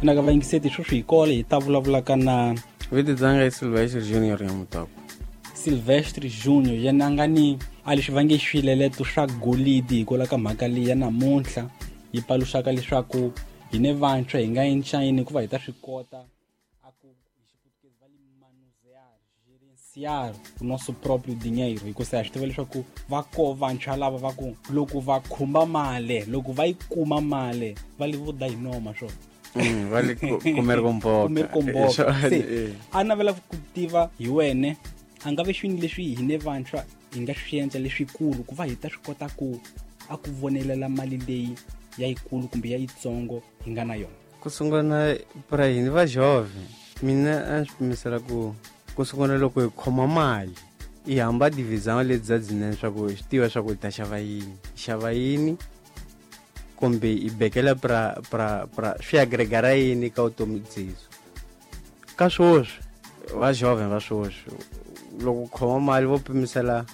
Naka vayingiseti sweswi hi kole hi ta vulavulaka na Vito dzanga i Silvestre Junior ya Mutoko. Silvestre Junior yena a nga ni a leswi va nge swileleto swa golidi hikwalaho ka mhaka leyi ya namuntlha yi paluxaka leswaku hi ne vantshwa hi nga encayini hikuva hi ta swi kota a ku hi xiputukezi va li manusear gerenciar o nosso próprio dinheiro hikusa ha swi tiva leswaku va ko vantshwa lava va ku loko va khumba mali loko va yi kuma mali va li vo da hi noma swona. Va le comer com boca. Comer com boca. Se a navela ku tiva hi wene a nga ve swini leswi hi ne vantshwa hi nga swi endla leswikulu ku va hi ta swi kota ku a ku vonelela mali leyi ya yikulu kumbe ya yitsongo hi nga na yona. Ku sungula pra hina va jovem mina a swi pimisela ku sungula loko hi khoma mali hi hamba divisão leti bya byinene swa ku hi swi tiva swa ku hi ta xava yini, hi xava yini kumbe hi bekela pra pra pra swi agregara yini ka vutomi byesu. Ka swoswi va jovem va swoswi loko khoma mali vo pimisela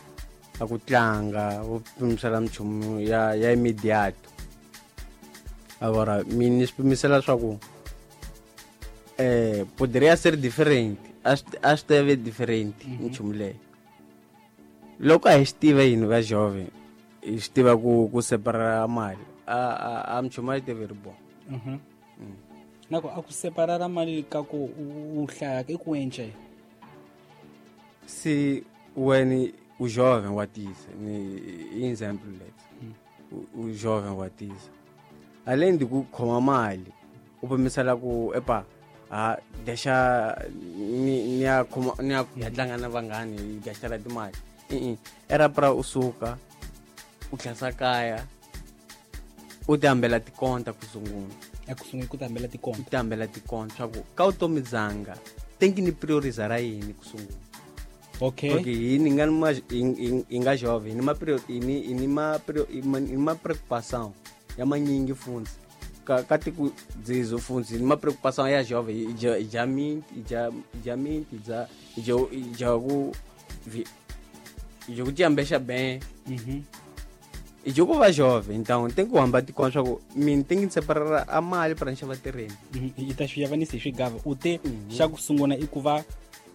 a ku tlanga, vo pimisela minchumu ya immediate. Agora mina ni swi pimisela swa ku poderia ser diferente, a swi ta ve different nchumu leyo. Loko a hi swi tiva yini va jovem hi swi tiva ku separara mali a minchumu a yi tive ri bon. Na ku a ku separara mali ka ku u hlaya i ku endla yini? Se wena u jovem wa tisa ni example leti. U jovem wa tisa além de ku khoma mali u pimisela ku epa a deixa ni ya khoma ni ya ya tlanga na vanghani hi gastela timali. I-i era pra u suka u tlhasa kaya u ti hambela tikonta ku sungula. A ku sungula ku ti hambela tikonta. U ti hambela tikonta swa ku ka vutomi byanga tenki ni priorisa ra yini ku sungula. Okay. Porque hi ni nga ma hi nga jovem hi ni ma prior hi ni hi ni ma prior hi ma preocupação ya manyingi funtsi ka tiko dzizo funtsi hi ni ma preocupação ya jovem hi dya hi dya minti hi dya hi dya minti hi dya hi dya hi dya ku vi hi dya ku tiambexa bem. Hi dya ku va jovem então tem ku hamba tikona swa ku mina tem que separar a mali para ni xava terreno. Hi ta swi yavanisa hi swigava u te xa ku sungula i ku va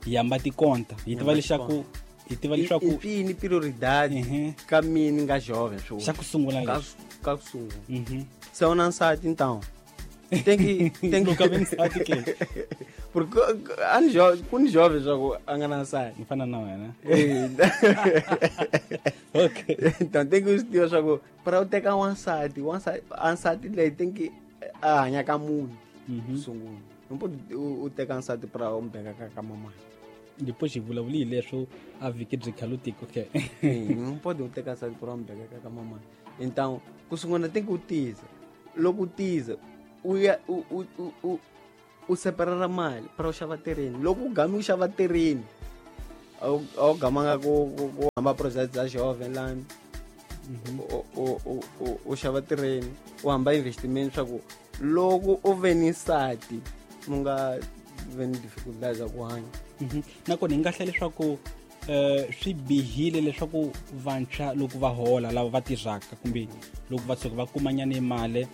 hi hamba tikonta hi tiva leswaku hi tiva leswaku i yini prioridade ka mina nga jovem swo xa ku sungula leswi ka ku sungula. Se u na nsati então tem que tem que ka nsati ke porque a ni jovem ku ni jovem swa ku a nga na nsati ni fana na wena. Okay. Então tem que swi tiva swa ku para u teka wansati wansati ansati leyi tem que a hanya ka munhu sungula. Não pode u teka nsati para u mbeka ka mamani. Depois hi vulavuli hi leswo a vhiki byi khalutiki okay. Não pode u teka nsati para u mbeka ka mamani. Então ku sungula tem que u tiza. Loko u tiza u ya u separara mali para u xava terreno. Loko u gami u xava terreno a wu gamanga ku hamba project bya jovem lani. U xava terreno u hamba investment swa ku loko u ve ni nsati mu nga ve ni dificultades za ku hanya. Nakona hi nga hlela leswaku swi bihile leswaku vantshwa loko va hola lava va tirhaka kumbe loko va tshuka va kumanyana mali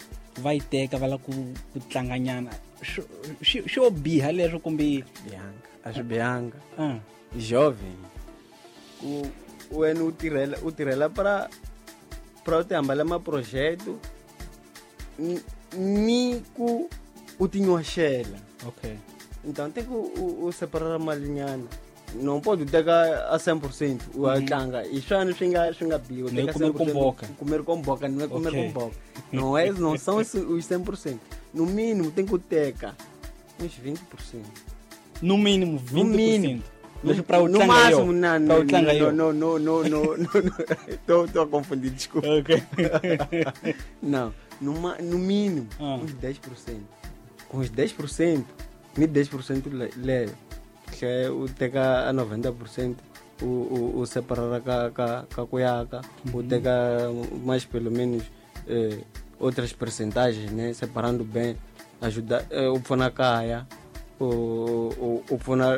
va yi teka va lava ku tlanganyana xo biha leswo kumbe bihanga a swi bihanga. Jovem ku wena u tirhela para u ti hambela maprojeto ni ku u tinyoxela. Okay. Então tem que u separar malinyana. Não pode teka a 100% u tlanga i swani swi nga biwa teka 100% comer com boca não é comer com boca. Não é, não são os 100%. No mínimo tem que teka uns 20%. No mínimo 20%. No mínimo. No máximo, não, não, não, não, não, não, tô a confundir, desculpa. Okay. Não, no mínimo, uns 10%. Com os 10%, nem 10% leva. Que o teka a 90% o separar ka cuiaca, o teka mais pelo menos outras percentagens, né? Separando bem, ajudar o pfuna kaya, o pfuna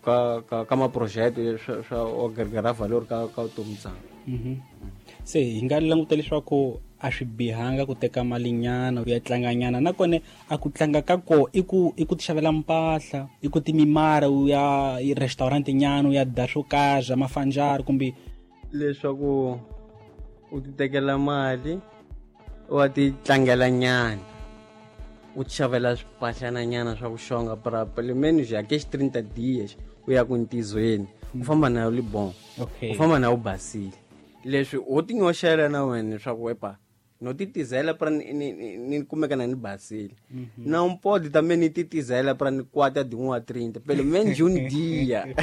ka ma projeto swa agregar valor ka vutomi bya. Se hi nga languta leswaku A swi bihanga ku teka mali nyana u ya tlanga nyana, nakona a ku tlanga ka ko i ku tixavela mpahla, i ku timimara u ya restaurant nyana u ya dya swo karhi mafanjari, kumbe leswaku u ti tekela mali wa ti tlangela nyana, u tixavela swimpahlana nyana swa ku xonga pra pelo menos aqueles 30 dias u ya ku ntizweni u famba na yo li bon, u famba na u basile. Leswi u ti nyoxela na wena leswaku epa no titizela pra ni kumeka na ni basile. Não pode também ni titizela pra ni 4 de 1 a 30, pelo menos um dia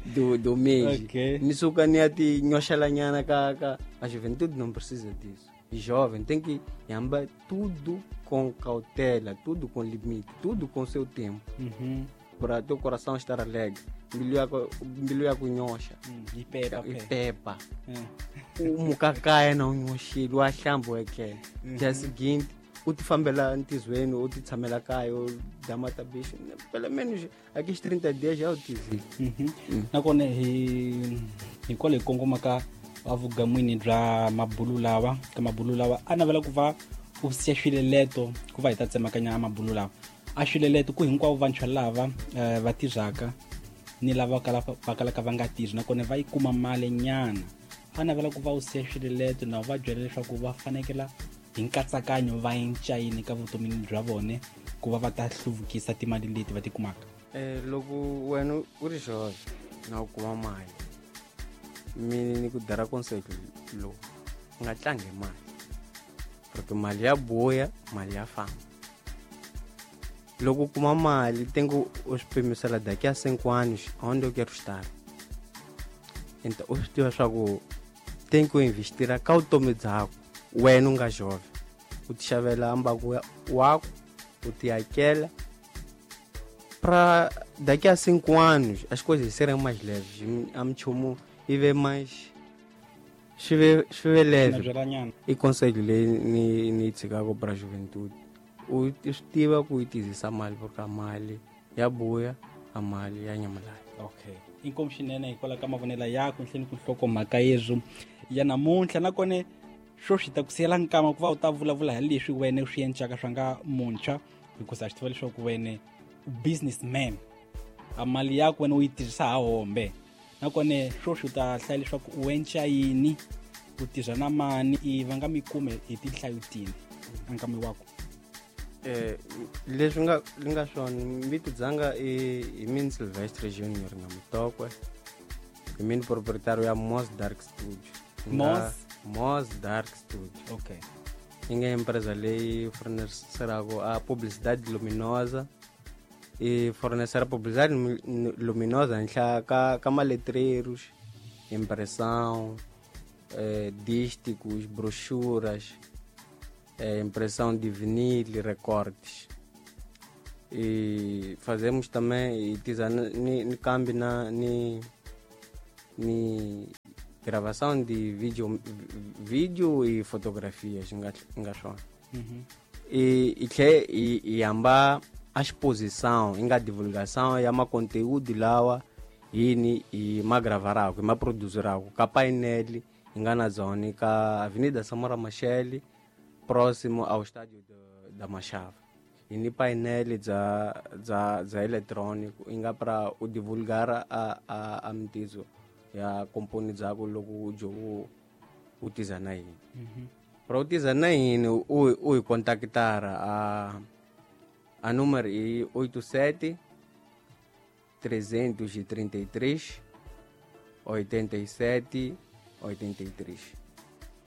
do mês. Okay. Ni suka ni ya ti nyoxela nyana ka a juventude não precisa disso. E jovem tem que andar tudo com cautela, tudo com limite, tudo com seu tempo. Para teu coração estar alegre. Mbilu ya kunyoxa. Ipepa. Umukakaya na unyoxile wa hlambo ekele. Dia seguinte, u ti fambela ntizweni, u ti tshamela kaya, u dya matabishi. Pelo menos aqueles 30 dias já u tizile. Nakona hi kwale hi kongoma ka avugamwini bya mabulu lawa, ka mabulu lawa a navela ku va u siya swileleto ku va hi ta tsemakanya mabulu lawa. A swileleto ku hinkwavo vantshwa lava va tirhaka ni lava va kalaka va nga tirhi, nakona va yi kuma mali nyana. A navela ku va u siya swileleto na va byela leswaku va fanekela hi nkatsakanyo va encayini ka vutomini bya vona ku va va ta hluvukisa timali leti va ti kumaka. Loko wena u ri jovem na u kuma mali, mina ni ku dara conselho lowu, u nga tlangi mali, porque mali ya buya, mali ya famba. Loko u kuma mali tem que u swi pimisela daqui a 5 anos onde eu quero estar. Então u swi tiva swa ku tem que investira ka vutomi byakho wena u nga jovem, u ti xavela mbaku waku, u ti hakela pra daqui a 5 anos as coisas serem mais leves, a minchumu yi ve mais swi ve leve. I conselho leyi ni tshikaka pra juventude, u swi tiva ku yi tizisa mali, porque mali ya buya, a mali ya nyamalala. Okay, inkomu swinene hikwalaho ka mavonelo yakho nhleni ku nhlokomhaka yezwo ya namuntlha. Nakona swo swi ta ku siyela nkama ku va u ta vulavula hi leswi wena u swi endlaka swa nga muntshwa, hikuva a swi tiva leswaku wena u businessman, a mali yakho wena u yi tirhisa ha hombe. Nakona swo swi ta hlaya leswaku u enca yini, u tirha na mani, i va nga mi kume hi tinhlayo tini nkama wako. Leswi nga swona mbiti dzanga i min Silvestre Junior na Mutokwe, i min proprietário ya Mos Dark Studio. Mos Dark Studio. Okay. Yi nga empresa leyi fornecerako a publicidade luminosa, e fornecer a publicidade luminosa henhla ka maletreiros, impressão, dísticos, brochuras, impressão de vinil, recortes. E fazemos também e câmbio na ni gravação de vídeo e fotografias nga swona. E e amba a exposição inga divulgação ya ma conteúdo lawa yini i magravarako i maproduzirako ka painel inga na zone ka Avenida Samora Machel próximo ao estádio da Machava. E ni painel za eletrônico inga para o divulgar a mtizo ya komponi dzako loko u u tiza na yini. Para u tiza na yini u hi contactar a número é 87 333 87 83.